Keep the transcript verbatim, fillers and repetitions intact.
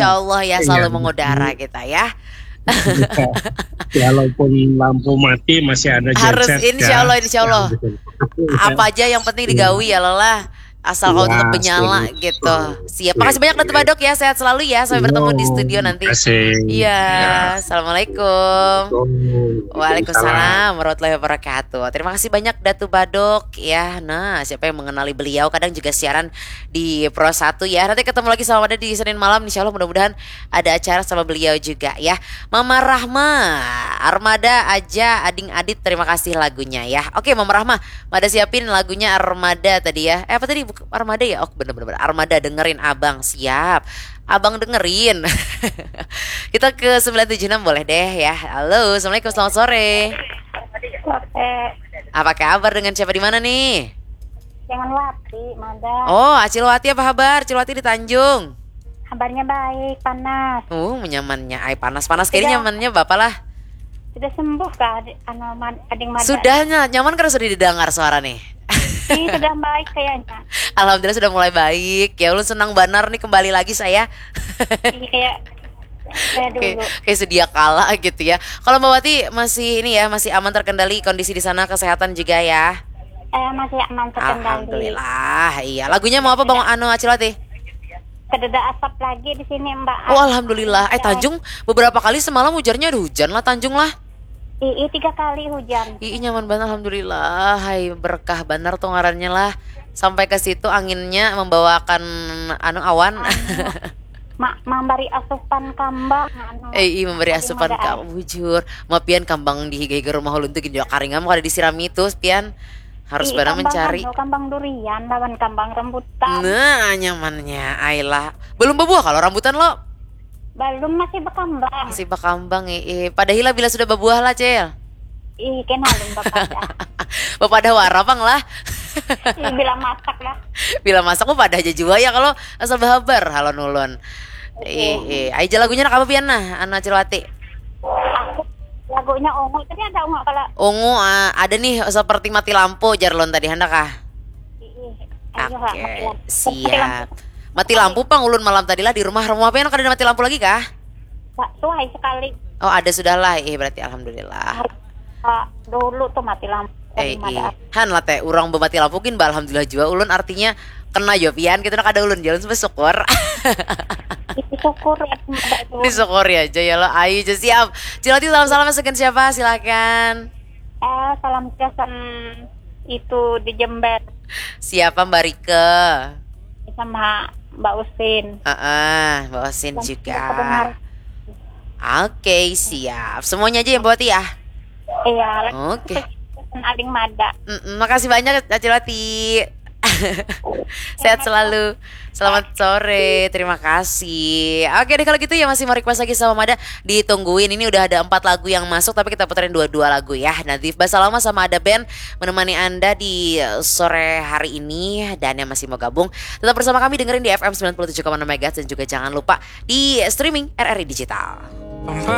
Insya Allah ya selalu mengudara kita ya. Walaupun lampu mati masih ada genset. Harus insya Allah, insya Allah. Apa aja yang penting digawi ya lelah. Asal kau tetap menyala gitu. Siap. Makasih banyak Datu Badok ya. Sehat selalu ya. Sampai bertemu di studio nanti. Iya. Assalamualaikum. Waalaikumsalam warahmatullahi wabarakatuh. Terima kasih banyak Datu Badok ya. Nah, siapa yang mengenali beliau kadang juga siaran di Pro satu ya. Nanti ketemu lagi sama Mada di Senin malam. Insya Allah mudah-mudahan ada acara sama beliau juga ya. Mama Rahma, Armada aja ading adit, terima kasih lagunya ya. Oke Mama Rahma, Mada siapin lagunya Armada tadi ya. Eh apa tadi? Armada ya? Oh bener-bener Armada dengerin abang, siap. Abang dengerin. Kita ke sembilan tujuh enam boleh deh ya. Halo, assalamualaikum, selamat sore. Apa kabar, dengan siapa di mana nih? Jangan Wati, Mada. Oh, Acil Wati apa kabar? Acil Wati di Tanjung. Kabarnya baik, panas. Uh, nyamannya. Ai panas, panas kayaknya nyamannya bapak lah. Sudah sembuh kah, anu, ading Mada? Sudah, nyaman karena sudah didengar suara nih. Ih, sudah baik kayaknya. Alhamdulillah sudah mulai baik. Ya ulun senang banar nih kembali lagi saya. Iya, kayak Kayak, kayak sedia kala gitu ya. Kalau Mbak Wati masih ini ya, masih aman terkendali kondisi di sana, kesehatan juga ya. Eh, masih aman terkendali. Alhamdulillah. Iya. Lagunya mau apa Bang Anu Acil Wati? Kededa asap lagi di sini Mbak. Oh alhamdulillah. Eh Tanjung beberapa kali semalam ujarnya ada hujan lah Tanjung lah. Ii tiga kali hujan. Ii nyaman banget alhamdulillah. Hai berkah banar tuh ngarannya lah. Sampai ke situ anginnya membawakan anu awan. Ma memberi asupan kambang anu. Eh, ii memberi asupan kambang bujur. Mapian kambang di higa-higa rumah ulun tuh gini karingam kada disirami tuh pian. Harus barang mencari anu, kambang durian lawan kambang rambutan. Nah, nyamannya. Ailah. Belum berbuah kalau rambutan lo? Belum, masih berkambang. Masih berkambang, eh. Padahal bila sudah berbuah lah, Cel. Ih, kena belum berpadah. Berpadah warna pang lah. Ih, bila masak lah. Bila masak mau padah aja jua ya kalau asal berhabar halon ulun. Ih, ih. Aja lagunya nak apa pian nah, Anu Acil Wati? Aku lagunya Ungu tadi ada Ungu kalau Ungu uh, ada nih seperti mati lampu jarlon tadi hendak kah? Oke, okay, siap. Mati lampu pang ulun malam tadi lah di rumah. Rumah apa yang kada mati lampu lagi kah? Suai sekali. Oh ada sudah lah, eh berarti alhamdulillah. Dulu tuh mati lampu. Eh, ih. Han lah teh, orang bermati lampu gin, alhamdulillah juga. Ulun artinya kena jua pian gitu, nah kada ulun jalan sampai syukur. Syukur ya. Disyukuri aja ya lo, ayu aja siap. Cilati salam salam segan siapa, silakan. Eh, salam kesan itu di Jember. Siapa Mbak Rike? Sama Mbak Usin. Heeh, uh -uh, Mbak Usin juga. Oke, okay, siap. Semuanya aja yang buat ya. Iya. Oke. Okay. Aling mada. Mm -mm, makasih banyak Acil Wati. Sehat selalu. Selamat sore. Terima kasih. Oke deh kalau gitu ya masih mau request lagi sama Mada. Ditungguin. Ini udah ada empat lagu yang masuk tapi kita puterin dua-dua lagu ya. Nanti bahasa lama sama ada band menemani Anda di sore hari ini dan yang masih mau gabung tetap bersama kami dengerin di F M sembilan puluh tujuh koma enam megahertz dan juga jangan lupa di streaming R R I Digital.